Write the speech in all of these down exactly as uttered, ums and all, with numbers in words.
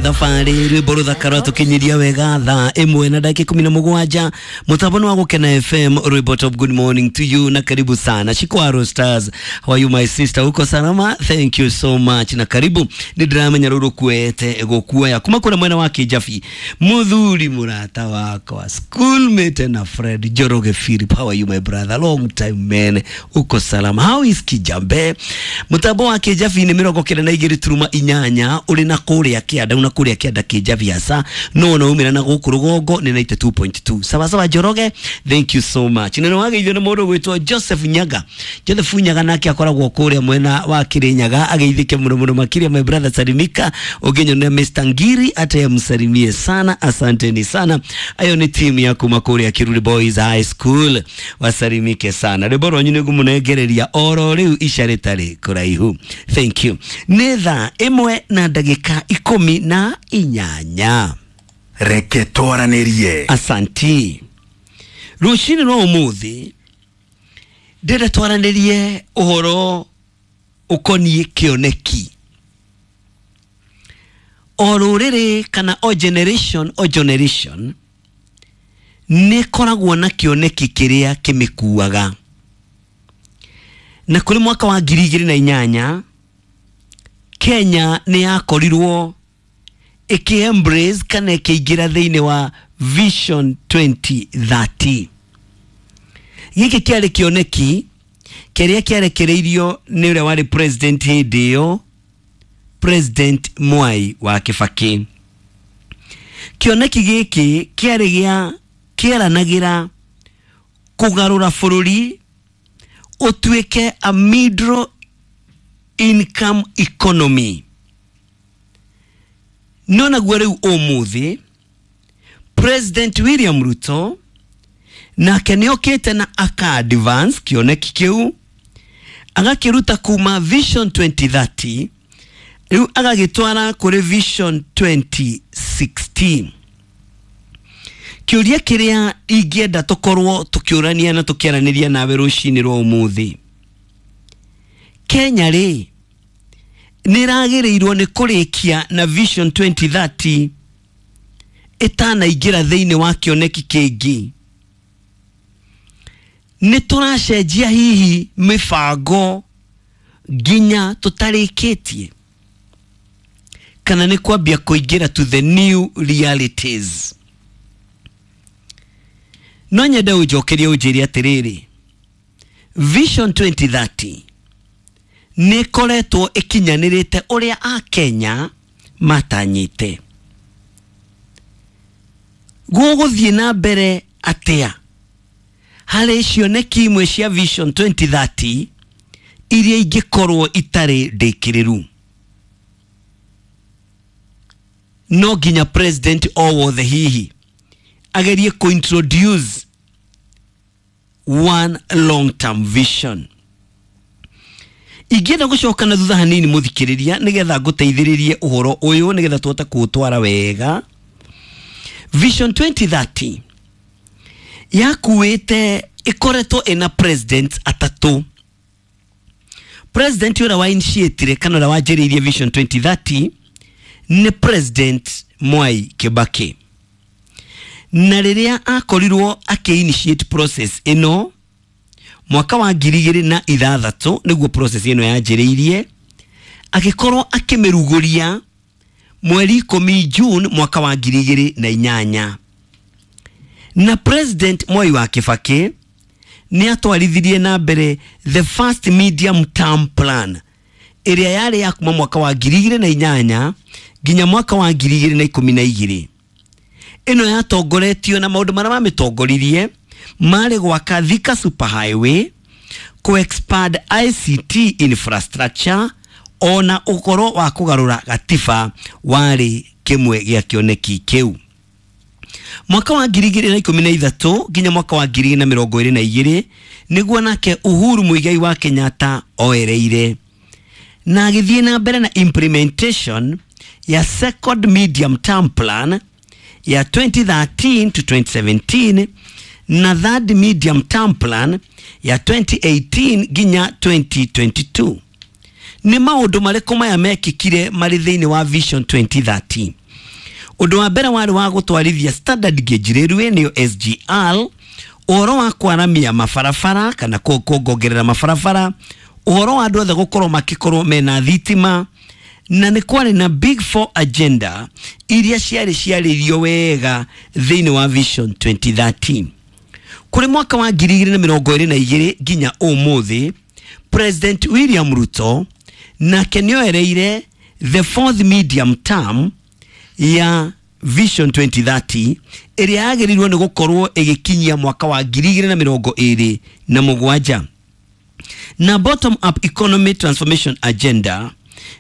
Thabarĩ rwĩmbo rũthaka rwatũkinyiria wega thaa ĩmwe na ndagĩka ikũmi na mũgwanja mũtambo nĩ wa Gũkena F M rwĩmbo top. Good morning to you na karibu sana Shikwaro Stars. How are you my sister, uko salama? Thank you so much na karibu. Nĩ ndĩramenya rũrũ kuete gũkuoya kuma kũrĩa mwena wa Kĩjabi, mũthuri mũrata wakwa, schoolmate na friend Njoroge Philip. How are you my brother? Long time man, uko salama? How is Kijambe? Mũtambo wa Kĩjabi nĩ mĩrongo kenda na igĩrĩ turuma inyanya ũrĩ na kũrĩa kĩanda na kũrĩa kĩanda Kĩjabi hasa no no umĩra na gũkũ rũgongo nĩ ninety two point two. Sawa sawa Njoroge, thank you so much. Nĩ wageithio nĩ mũndũ gwĩtwo Joseph Nyaga. Joseph Nyaga nake akoragwo kũrĩa mwena wa Kirinyaga, ageithĩke mũno mũno makĩria my brother Salimika ũngĩnyonera Mister Ngiri atayamsalimie sana, asanteni sana. Ayo ni timu ya kuma kũrĩa Kiruri Boys High School, wasalimike sana. Rwĩmbo rwanyu nĩ ngũmũnengereria oro rĩu ica rĩtarĩ kũraihu. Thank you. Nĩ thaa ĩmwe na ndagĩka ikũmi na inyanya. Reke twaranĩrie. Asanti. Rũcinĩ rwa ũmũthĩ ndĩrenda twaranĩrie ũhoro ũkoniĩ kĩoneki. O rũrĩrĩ kana o generation o generation nĩ ĩkoragwo na kĩoneki kĩrĩa kĩmĩkuaga. Na kũrĩ mwaka wa ngiri igĩrĩ na inyanya Kenya nĩ yakorirwo ĩkĩ-embrace kana ĩkĩingĩra thĩinĩ wa Vision twenty thirty. Gĩkĩ kĩarĩ kĩoneki kĩrĩa kĩarekereirio nĩ ũrĩa warĩ president hĩndĩ ĩyo, President Mwai wa Kibaki. Kĩoneki gĩkĩ kĩarĩ gĩa kĩaranagĩra kũgarũra bũrũri ũtuĩke a middle income economy. No naguo rĩu ũmũthĩ President William Ruto nake nĩokĩte na aka advance kĩoneki kĩu agakĩruta kuma Vision twenty thirty rĩu agagĩtwara kũrĩ Vision twenty sixty. Kĩũria kĩrĩa ingĩenda tũkorwo tũkĩũrania na tũkĩaranĩria nawe rũcinĩ rwa ũmũthĩ, Kenya rĩ nĩ ĩragĩrĩirwo nĩ kũrĩkia na Vision twenty thirty ĩtanaingĩra thĩinĩ wa kĩoneki kĩngĩ? Nĩ tũracenjia hihi mĩbango nginya tũtarĩkĩtie, kana nĩ kwambia kũingĩra to the new realities? No nyende ũnjokerie ũnjĩre atĩrĩrĩ, Vision twenty thirty nĩ ĩkoretwo ĩkinyanĩrĩte ũrĩa Akenya matanyĩte? Gũgũthiĩ na mbere atĩa harĩ cioneki imwe cia Vision twenty thirty iria ingĩkorwo itarĩ ndĩkĩrĩru? No nginya president o wothe hihi agerie kũ-introduce one long term vision. Ingĩenda gũcoka na thutha hanini mũthikĩrĩria nĩgetha ngũteithĩrĩrie ũhoro ũyũ nĩgetha tũhote kũũtwara wega. Vision twenty thirty yakuĩte ĩkoretwo ĩna president atatũ. President ũrĩa wa initiatire kana ũrĩa wanjĩrĩirie Vision twenty thirty nĩ President Mwai Kibaki. Na rĩrĩa akorirwo akĩ-initiate process ĩno mwaka wa ngiri igĩrĩ na ithathatũ nĩguo process ĩno yanjĩrĩirie, agĩkorwo akĩmĩrugũria mweri ikũmi June mwaka wa ngiri igĩrĩ na inyanya. Na President Mwai wa Kibaki nĩ atwarithirie na mbere the first medium term plan ĩrĩa yarĩ ya kuma mwaka wa ngiri igĩrĩ na inyanya nginya mwaka wa ngiri igĩrĩ na ikũmi na igĩrĩ. Ĩno yatongoretio na maũndũ marĩa mamĩtongoririe marĩ gwaka Thika Super Highway, ku-expand I C T infrastructure, ona ũhoro wa kũgarũra gatiba warĩ kĩmwe gĩa kĩoneki kĩu. Mwaka wa ngiri igĩrĩ na ikũmi na ithatũ nginya mwaka wa ngiri igĩrĩ na mĩrongo ĩrĩ na igĩrĩ nĩguo nake Uhuru Muigai wa Kenyatta oereire na agĩthiĩ na mbere na implementation ya second medium term plan ya twenty thirteen to twenty seventeen na third medium term plan ya twenty eighteen nginya twenty twenty two. Nĩ maũndũ marĩkũ maya mekĩkire marĩ thĩinĩ wa Vision twenty thirty? Ũndũ wa mbere warĩ wa gũtwarithia standard gauge railway, nĩyo S G R, ũhoro wa kwaramia mabarabara kana kuongerera mabarabara, ũhoro wa andũ othe gũkorwo makĩkorwo mena thitima, na nĩ kwarĩ na big four agenda iria ciarĩ ciarĩrio wega thĩinĩ wa Vision twenty thirty. Kũrĩ mwaka wa ngiri igĩrĩ na mĩrongo ĩrĩ na igĩrĩ nginya ũmũthĩ, President William Ruto nake nĩoereire the fourth medium term ya Vision twenty thirty, ĩrĩa yagĩrĩirwo nĩ gũkorwo ĩgĩkinyia mwaka wa ngiri igĩrĩ na mĩrongo ĩrĩ na mũgwanja. Na bottom up economy transformation agenda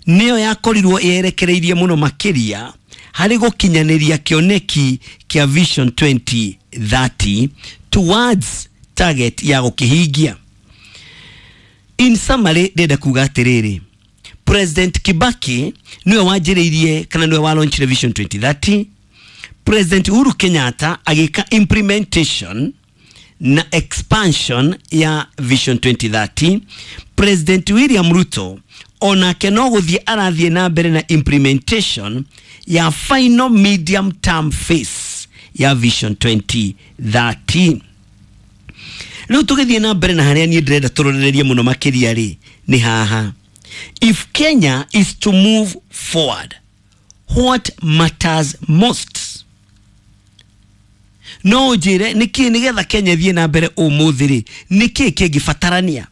nĩyo yakorirwo yerekereirie mũno makĩria harĩ gũkinyanĩria kĩoneki kĩa Vision twenty thirty towards target ya gũkĩhingia. In summary, ndĩrenda kuga atĩrĩrĩ, President Kibaki niwe wanjĩrĩirie kana niwe wa launchire Vision twenty thirty. President Uhuru Kenyatta agĩka implementation na expansion ya Vision twenty thirty. President William Ruto onake no gũthiĩ arathiĩ na mbere na implementation ya final medium term phase ya Vision twenty thirty. Rĩu tũgĩthiĩ na mbere na harĩa niĩ ndĩrenda tũrorererie mũno makĩria rĩ, nĩ haha: if Kenya is to move forward, what matters most? No ũnjĩre nĩkĩ nĩgetha Kenya ĩthiĩ na mbere ũmũthĩ rĩ, nĩkĩ kĩngĩbatarania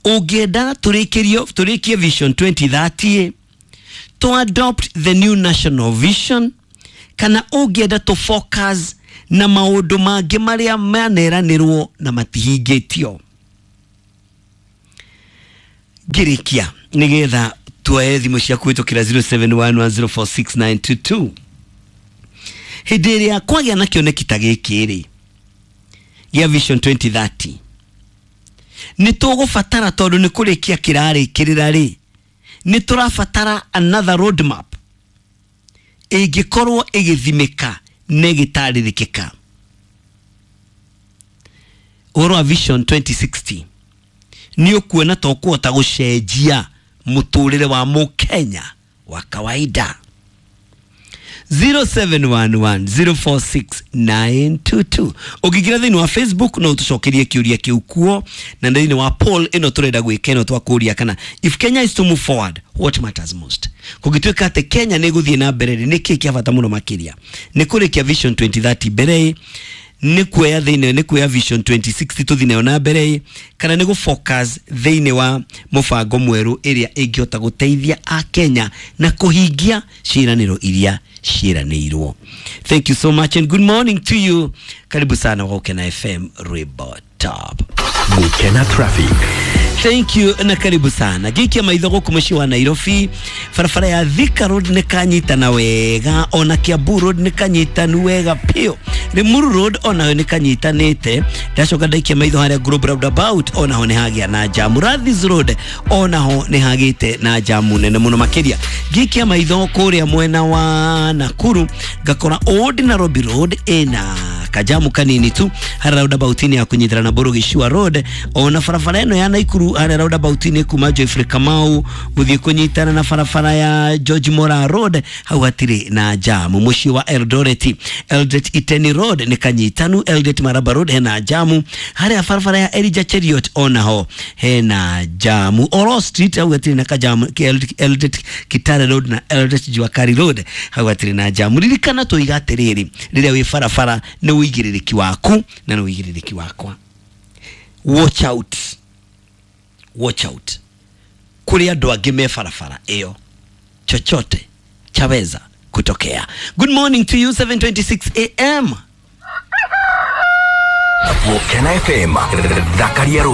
ũngĩenda tũrĩkĩrio tũrĩkie Vision twenty thirty, to adopt the new national vision, kana ũngĩenda to focus na maũndũ mangĩ marĩa maneranĩrwo na matihingĩtio? Ngĩrĩkia, nĩgetha tuoe thimũ cia kũhĩtũkĩra zero seven one one zero four six nine two two, hĩndĩ ĩrĩa kwagĩa na kĩoneki ta gĩkĩ rĩ gĩa Vision twenty thirty, nĩ tũgũbatara, tondũ nĩ kũrĩkia kĩrarĩkĩrĩra rĩ, nĩ tũrabatara another roadmap ĩngĩkorwo ĩgĩthimĩka na ĩgĩtarĩrĩkĩka. Ũhoro wa Vision twenty sixty nĩ ũkuona ta ũkũhota gũcenjia mũtũrĩre wa mũkenya wa kawaida? zero seven one one zero four six nine two two. Ũngĩingĩra thĩinĩ wa Facebook no ũtũcokerie kĩũria kĩu kuo, na thĩinĩ wa poll ĩno tũrenda gwĩka ĩno twakũria kana if Kenya is to move forward, what matters most? Kũngĩtuĩka atĩ Kenya nĩ ĩgũthiĩ na mbere rĩ, nĩ kĩĩ kĩa bata mũno makĩria? Nĩ kũrĩkia Vision twenty thirty mbere ĩ, nĩ kuoya thĩinĩ nĩ kuoya Vision twenty sixty tũthiĩ nayo na mbere ĩ, kana nĩ gũfocus thĩinĩ wa mũbango mwerũ ĩrĩa ĩngĩhota gũteithia akenya na kũhingia ciĩranĩro iria ciĩranĩirwo? Thank you so much and good morning to you. Karibu sana wa Gukena F M, Rwimbo Top. Gukena Traffic. Thank you na karibu sana. Ngĩikia maitho gũkũ mũciĩ wa Nairobi, barabara ya Thika Road nĩ kanyitana wega, ona Kiambu Road nĩ kanyitanu wega piũ. Limuru Road onayo nĩ kanyitanĩte. Ndacoka ndaikia maitho harĩa Globe Roundabout, onaho nĩ hagĩa na jamu. Rathis Road onaho nĩ hagĩte na jamu nene mũno makĩria. Ngĩikia maitho kũrĩa mwena wa Nakuru, ngakora Old Nairobi Road ĩna kajamu kanini tu harĩa roundabout-inĩ ya kũnyitĩra na Mbũrũ Gĩcua Road, ona barabara ĩno ya Naikuru harĩa roundabout-inĩ kuma Geoffrey Kamau gũthiĩ kũnyitana na barabara ya George Mora Road, hau hatirĩ na jamu. Mũciĩ wa Eldoret, Eldoret Iten Road nĩ kanyitanu. Eldoret Maraba Road hena jamu. Harĩa barabara ya Elijah Cheriot onaho hena jamu. Oro Street hau hatirĩ na kajamu. Eldoret Kitale Road na Eldoret Juakari Road hau hatirĩ na jamu. Ririkana tũiga atĩrĩrĩ, rĩrĩa wĩ barabara nĩ ũigĩrĩrĩki waku na nĩ ũigĩrĩrĩki wakwa. Watch out, watch out, kũrĩ andũ angĩ me barabara ĩyo, chochote chaweza kutokea. Good morning to you, seven twenty-six a m. Gukena F M, thakaria.